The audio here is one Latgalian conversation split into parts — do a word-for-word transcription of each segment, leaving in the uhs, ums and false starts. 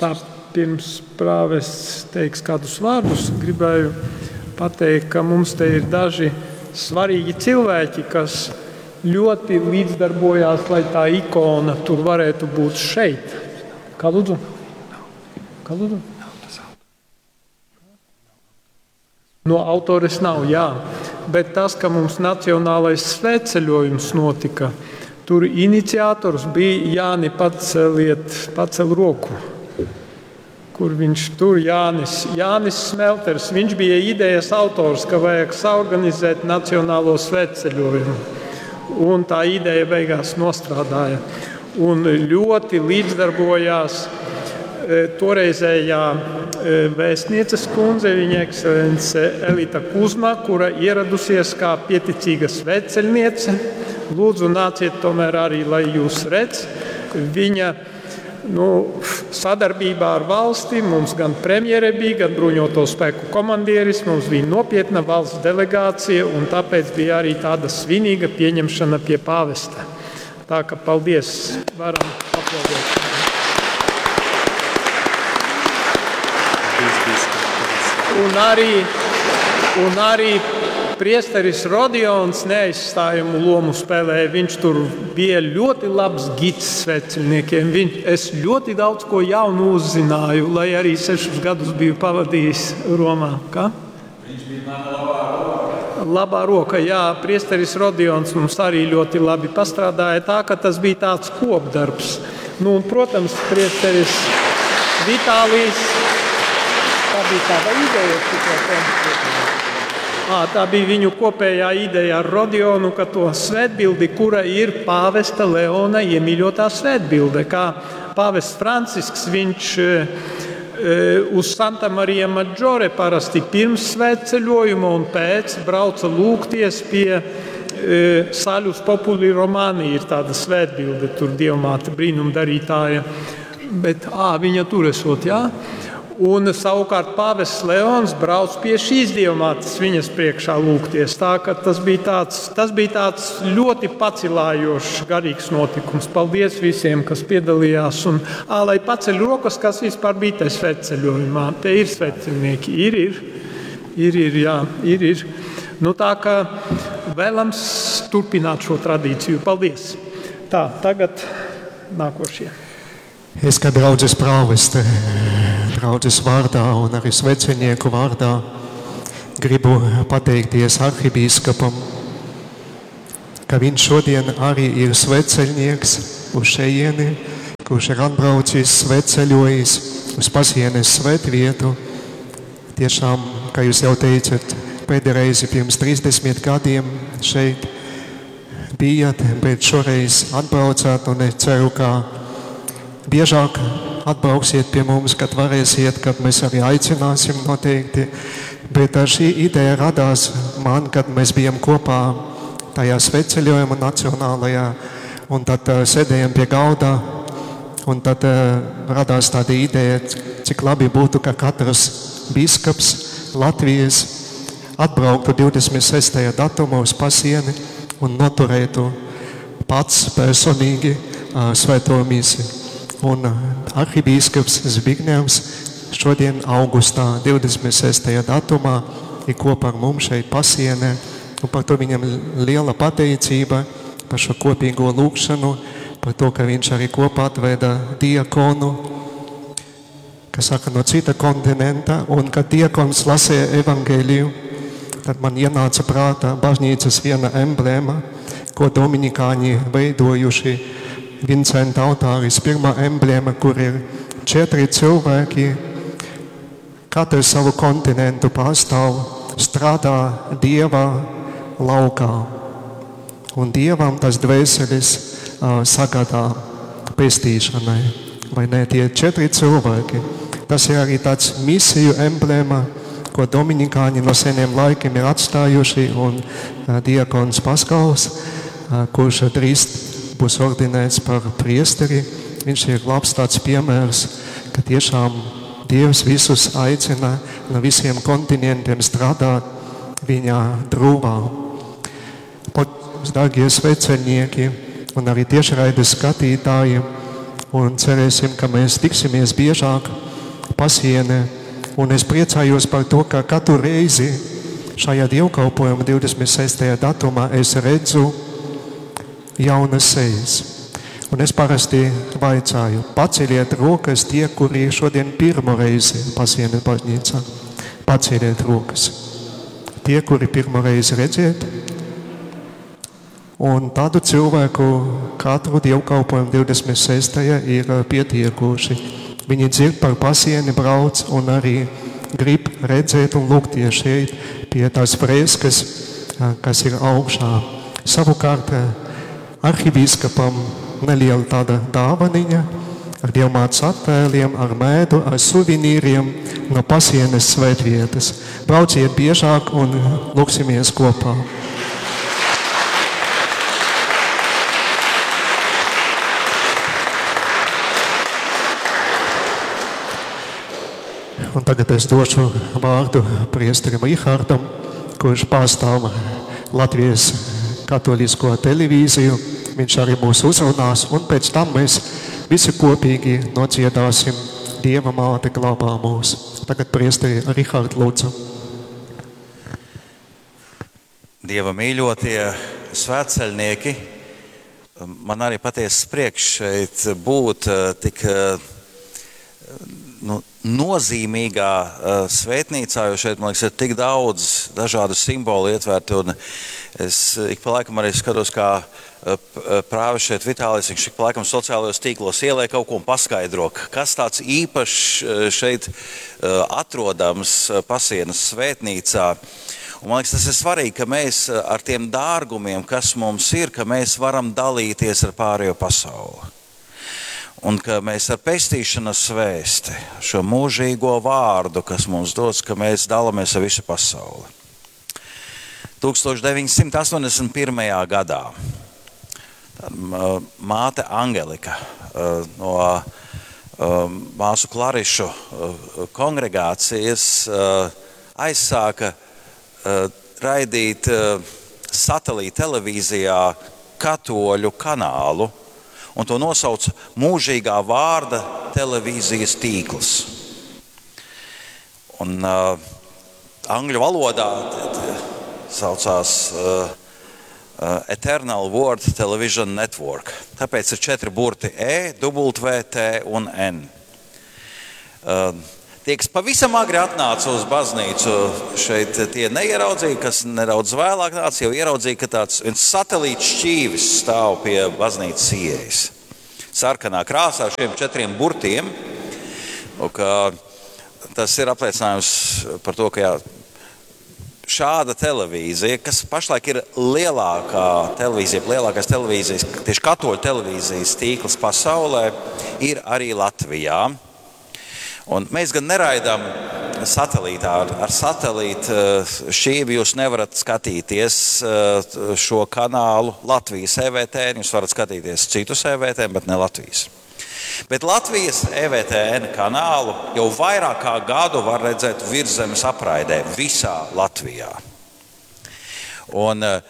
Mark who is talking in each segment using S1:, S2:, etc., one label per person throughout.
S1: Tā pirms prāvests teiks kādus vārdus, gribēju pateikt, ka mums te ir daži svarīgi cilvēki, kas ļoti līdzdarbojās, lai tā ikona tur varētu būt šeit. Kā lūdzu? Kā lūdzu? No autores nav, jā. Bet tas, ka mums nacionālais svētceļojums notika, tur iniciators bija Jāni, paceliet, pacel roku. Kur viņš tur, Jānis, Jānis Smelters, viņš bija idejas autors, ka vajag saorganizēt nacionālo svētceļojumu. Un tā ideja beigās nostrādāja. Un ļoti līdzdarbojās toreizējā vēstnieces kundze, viņa ekscelence Elita Kuzma, kura ieradusies kā pieticīga svētceļniece. Lūdzu, nāciet tomēr arī, lai jūs redz. Viņa, nu, sadarbībā ar valsti, mums gan premjere bija, gan bruņoto spēku komandieris, mums bija nopietna valsts delegācija, un tāpēc bija arī tāda svinīga pieņemšana pie pāvesta. Tā ka paldies, varam aplaudēt. Un arī, un arī priesteris Rodions neaizstājamu lomu spēlēja. Viņš tur bija ļoti labs gids svētceļniekiem. Viņ, es ļoti daudz ko jaunu uzzināju, lai arī sešus gadus biju pavadījis Romā. Kā?
S2: Viņš bija mana labā roka.
S1: Labā roka, jā. Priesteris Rodions mums arī ļoti labi pastrādāja tā, ka tas bija tāds kopdarbs. Nu, un, protams, priesteris Vitālijs. Tā bija tāda ideja, šito te. Ā, tā bija viņu kopējā ideja ar Rodionu, ka to svētbildi, kura ir pāvesta Leona iemīļotā svētbilde, kā pāvests Francisks, viņš, e, uz Santa Maria Maggiore parasti pirms svētceļojuma un pēc brauca lūgties pie, e, Salus Populi Romani, ir tāda svētbilde, tur dievmāte brīnumdarītāja, bet, ā, viņa tur esot, jā? Un savukārt pāvests Leons brauc pie šīs dievmātes viņas priekšā lūgties. Tā ka tas bija tāds, tas bija tāds ļoti pacilājošs garīgs notikums. Paldies visiem, kas piedalījās. Un, ā, lai paceļ rokas, kas vispār bija te svētceļojumā. Te ir svētceļnieki. Ir, ir. Ir, ir, jā, ir, ir. Nu, tā ka vēlams turpināt šo tradīciju. Paldies. Tā, tagad nākošie.
S3: Es kā draudzes prāveste, draudzes vārdā un arī svecenieku vārdā gribu pateikties arhibīskapam, ka viņš šodien arī ir sveceļnieks uz šejieni, kurš ir atbraucis, sveceļojis uz Pasienes svētvietu. Tiešām, kā jūs jau teicat, pēdējo reizi pirms trīsdesmit gadiem šeit bijat, bet šoreiz atbraucāt un es ceru, ka biežāk atbrauksiet pie mums, kad varēsiet, kad mēs arī aicināsim noteikti. Bet šī ideja radās man, kad mēs bijām kopā tajā svētceļojuma nacionālajā, un tad, eh, sēdējām pie galda, un tad, eh, radās tāda ideja, cik labi būtu, ka katrs bīskaps Latvijas atbrauktu divdesmit sestajā datumā uz Pasieni un noturētu pats personīgi, eh, svēto misi. Un arhibīskaps Zbignevs šodien augustā divdesmit sestajā datumā ir kopā ar mums šeit Pasienē, un par to viņam liela pateicība, par šo kopīgo lūgšanu, par to, ka viņš arī kopā atveda diakonu, kas saka no cita kontinenta, un kad diakons lasīja evangeliju, tad man ienāca prātā baznīcas viena emblēma, ko dominikāņi veidojuši Vincenta altāris, pirmā emblēma, kur ir četri cilvēki, katrs savu kontinentu pārstāv, strādā Dieva laukā. Un Dievam tas dvēseles, ā, sagādā pestīšanai. Vai ne? Tie četri cilvēki. Tas ir arī tāds misiju emblēma, ko dominikāņi no seniem laikiem ir atstājuši, un, ā, diakons Paskals, ā, kurš drīz būs ordinēts par priesteri, viņš ir labs tāds piemērs, ka tiešām Dievs visus aicina no visiem kontinentiem strādāt viņa drūvā. Paldies, dārgie sveceļnieki un arī tiešraides skatītāji, Un cerēsim, ka mēs tiksimies biežāk Pasienē. Un es priecājos par to, ka katru reizi šajā dievkalpojuma divdesmit sestajā datumā es redzu jaunas sejas. Un es parasti vaicāju, paceļiet rokas tie, kuri šodien pirmo reizi Pasienes baznīcā. Paceļiet rokas. Tie, kuri pirmo reizi redziet. Un tādu cilvēku katru dievkalpojumu divdesmit sestajā ir pietiekoši. Viņi dzird par Pasieni, brauc un arī grib redzēt un lūgties šeit pie tās freskas, kas ir augšā. Savukārt arhibīskapam neliela tāda dāvaniņa ar dievmātes attēliem, ar mēdu, ar suvenīriem no Pasienes svētvietas. Brauciet biežāk un lūgsimies kopā. Un tagad es došu vārdu priesterim Rihardam, kurš pārstāv Latvijas katolisko televīziju. Viņš arī mūs uzrunās, un pēc tam mēs visi kopīgi nodziedāsim Dieva māte glabā mūs. Tagad priesteri Rihard lūdzu.
S2: Dieva mīļotie svētceļnieki, man arī patiesas prieks šeit būt tik, nu, nozīmīgā svētnīcā, jo šeit, man liekas, ir tik daudz dažādu simbolu ietverti, un es ik pa laikam arī skatos, kā prāvis šeit Vitālijs, viņš ik pa laikam sociālajos tīklos ieliek kaut ko un paskaidro, kas tāds īpašs šeit atrodams Pasienes svētnīcā. Un man liekas, tas ir svarīgi, ka mēs ar tiem dārgumiem, kas mums ir, ka mēs varam dalīties ar pārējo pasauli. Un ka mēs ar pestīšanas vēsti, šo mūžīgo vārdu, kas mums dots, ka mēs dalāmies ar visu pasauli. tūkstoš deviņsimt astoņdesmit pirmajā gadā māte Angelika no māsu Klarišu kongregācijas aizsāka raidīt satelīta televīzijā katoļu kanālu, un to nosauc Mūžīgā vārda televīzijas tīkls. Un, uh, angļu valodā t-, t-, saucās, uh, uh, Eternal Word Television Network. Tāpēc ir četri burti E, W, T un N. Uh, tie, kas pavisam agri atnāca uz baznīcu, šeit tie neieraudzīja, kas nedaudz vēlāk nāca, jau ieraudzīja, ka tāds viens satelīts šķīvis stāv pie baznīcas ieejas. Sarkanā krāsā ar šiem četriem burtiem, un ka tas ir apliecinājums par to, ka jā, šāda televīzija, kas pašlaik ir lielākā televīzija, lielākais televīzijas, tieši katoļu televīzijas tīkls pasaulē, ir arī Latvijā. Un mēs gan neraidām satelītā, ar, ar satelītu, eh, šķīvi jūs nevarat skatīties, eh, šo kanālu Latvijas E V T N, jūs varat skatīties citus E V T N, bet ne Latvijas. Bet Latvijas E V T N kanālu jau vairāk kā gadu var redzēt virszemes apraidē visā Latvijā. Un, eh,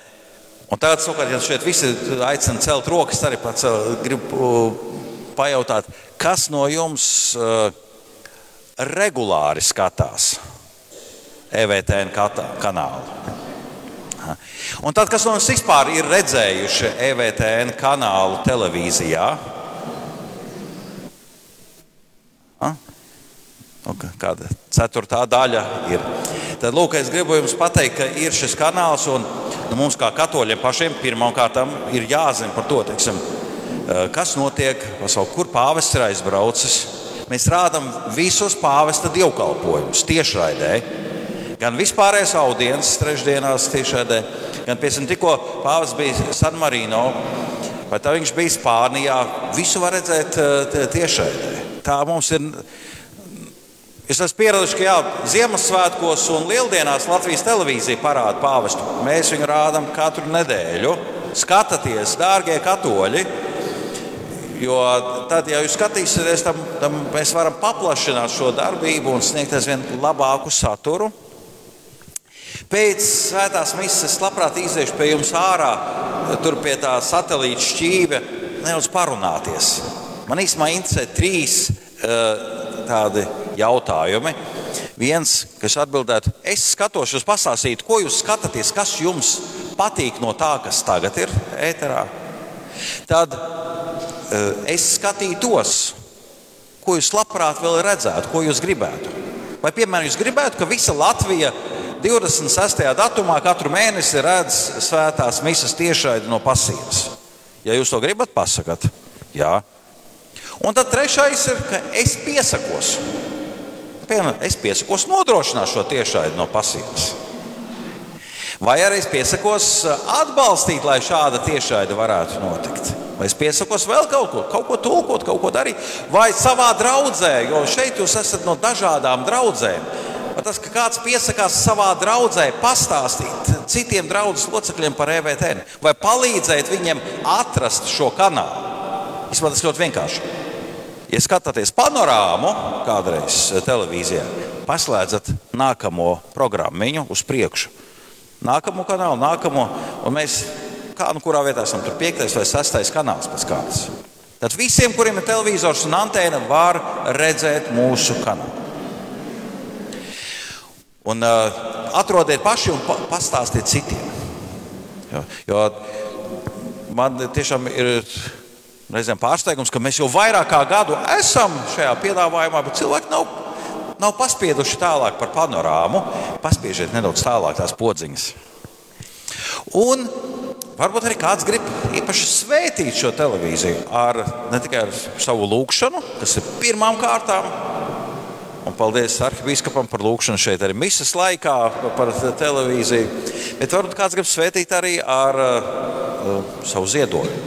S2: un tagad, savukārt, ja šeit visi aicina celt rokas, arī pats, eh, gribu, eh, pajautāt, kas no jums, eh, regulāri skatās E V T N kata-, kanālu? Aha. Un tad, kas no jums vispār ir redzējuši E V T N kanālu televīzijā? Ha? Nu, ka-, kāda ceturtā daļa ir. Tad, lūk, es gribu jums pateikt, ka ir šis kanāls, un nu, mums kā katoļiem pašiem pirmām kārtām ir jāzina par to, teiksim, eh, kas notiek pasaulē, kur pāvests ir aizbraucis. Mēs rādam visus pāvesta dievkalpojumus tiešraidē, gan vispārējais audiences trešdienās tiešraidē, gan, piemēram, tikko pāvests bija San Marino, vai tā viņš bija Spānijā, visu var redzēt, eh, tie-, tiešraidē. Tā mums ir... Jūs esat pieraduši, ka jā, Ziemassvētkos un Lieldienās Latvijas televīzija parāda pāvestu. Mēs viņu rādam katru nedēļu. Skatāties, dārgie katoļi, jo tad, ja jūs skatīsieties, tam, tam mēs varam paplašināt šo darbību un sniegt aizvien labāku saturu. Pēc svētās mises labprāt iziešu pie jums ārā, tur pie tā satelīta šķīvja, nedaudz parunāties. Man īsumā interesē trīs tādi jautājumi. Viens, kas atbildētu, es skatos, jūs pastāstītu, ko jūs skatāties, kas jums patīk no tā, kas tagad ir ēterā. Tad es skatītos, ko jūs labprāt vēl redzētu, ko jūs gribētu. Vai, piemēram, jūs gribētu, ka visa Latvija divdesmit sestajā datumā katru mēnesi redz svētās mises tiešraidi no Pasīnas? Ja jūs to gribat, pasakat. Jā. Un tad trešais ir, ka es piesakos. Piemēram, es piesakos nodrošināt šo tiešraidi no Pasīnas. Vai arī es piesakos atbalstīt, lai šāda tiešraide varētu notikt. Vai es piesakos vēl kaut ko, kaut ko tulkot, kaut ko darīt. Vai savā draudzē, jo šeit jūs esat no dažādām draudzēm. Vai tas, ka kāds piesakās savā draudzē pastāstīt citiem draudzes locekļiem par E V T N, vai palīdzēt viņiem atrast šo kanālu. Īstenībā tas ļoti vienkārši. Ja skatāties panorāmu kādreiz televīzijā, paslēdzat nākamo programmiņu uz priekšu. Nākamo kanālu, nākamo, un mēs, kā nu kurā vietā esam, tur piektais vai sestais kanāls pēc kārtas. Tad visiem, kuriem ir televizors un antēna, var redzēt mūsu kanālu. Un, uh, atrodiet paši un pa-, pastāstiet citiem. Jo, jo man tiešām ir reizēm pārsteigums, ka mēs jau vairāk kā gadu esam šajā piedāvājumā, bet cilvēki nav, nav paspieduši tālāk par panorāmu. Paspiežiet nedaudz tālāk tās podziņas. Un varbūt arī kāds grib īpaši svētīt šo televīziju ar, ne tikai ar savu lūgšanu, kas ir pirmām kārtām, un paldies arhibīskapam par lūgšanu šeit arī mises laikā par televīziju, bet varbūt kāds grib svētīt arī ar, uh, savu ziedojumu.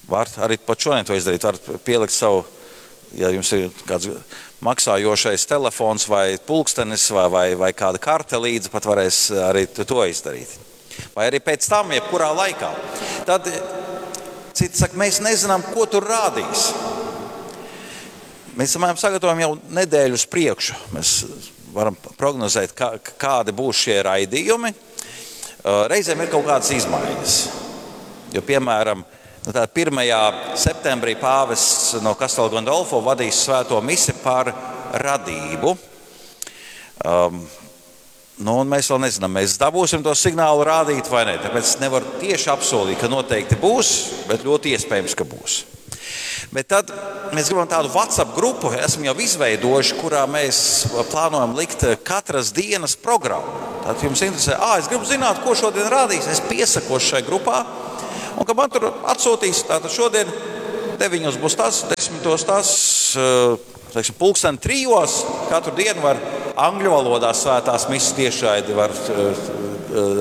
S2: Var arī pat šodien to izdarīt, var pielikt savu, ja jums ir kāds maksājošais telefons vai pulkstenis vai, vai, vai kāda karte līdzi, pat varēs arī to izdarīt. Vai arī pēc tam, jebkurā laikā. Tad citi saka, mēs nezinām, ko tur rādīs. Mēs samēram sagatavojam jau nedēļu uz priekšu. Mēs varam prognozēt, kā, kādi būs šie raidījumi. Reizēm ir kaut kādas izmaiņas. Jo, piemēram, nu tā pirmajā septembrī pāvests no Castel Gandolfo vadīs svēto misi par radību. Um, nu, un mēs vēl nezinām, mēs dabūsim to signālu rādīt vai nē. Tāpēc nevaru tieši apsolīt, ka noteikti būs, bet ļoti iespējams, ka būs. Bet tad mēs gribam tādu WhatsApp grupu, esam jau izveidojuši, kurā mēs plānojam likt katras dienas programmu. Tātad jums interesē, ā, es gribu zināt, ko šodien rādīs, es piesakos šai grupā, un ka man tur atsūtīs, tātad šodien deviņos būs tas, desmitos tas, teiksim, pulksten trijos, katru dienu var angļu valodā svētās mises tiešraidi var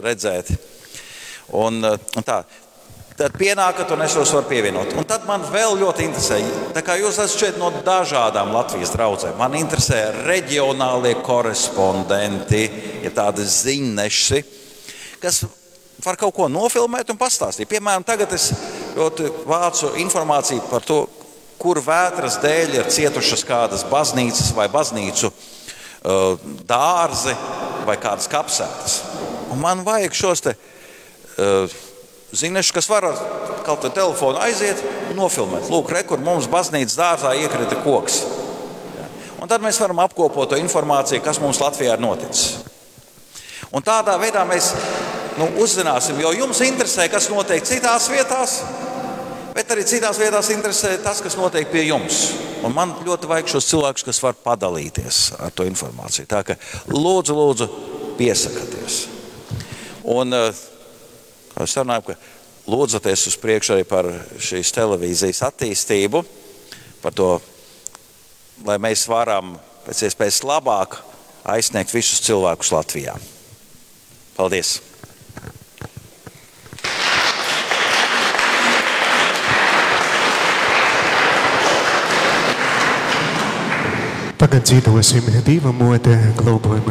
S2: redzēt. Un, un tā. Tad pienākat un es jūs varu pievienot. Un tad man vēl ļoti interesē, tā kā jūs esat šeit no dažādām Latvijas draudzēm, man interesē reģionālie korespondenti, ja tādi ziņneši, kas var kaut ko nofilmēt un pastāstīt. Piemēram, tagad es ļoti vācu informāciju par to, kur vētras dēļ ir cietušas kādas baznīcas vai baznīcu, uh, dārzi vai kādas kapsētas. Un man vajag šos te, uh, ziņneši, kas var ar kaut vai telefonu aiziet un nofilmēt. Lūk, re, kur mums baznīcas dārzā iekrita koks. Ja. Un tad mēs varam apkopot to informāciju, kas mums Latvijā ir noticis. Un tādā veidā mēs, nu, uzzināsim, jo jums interesē, kas notiek citās vietās, bet arī citās vietās interesē tas, kas notiek pie jums. Un man ļoti vajag šos cilvēkus, kas var padalīties ar to informāciju. Tā ka lūdzu, lūdzu, piesakaties. Un, eh, kā mēs runājam, ka lūdzaties uz priekšu arī par šīs televīzijas attīstību, par to, lai mēs varam pēc iespējas labāk aizsniegt visus cilvēkus Latvijā. Paldies!
S3: Tagad dzīvosim Dieva mote globojuma.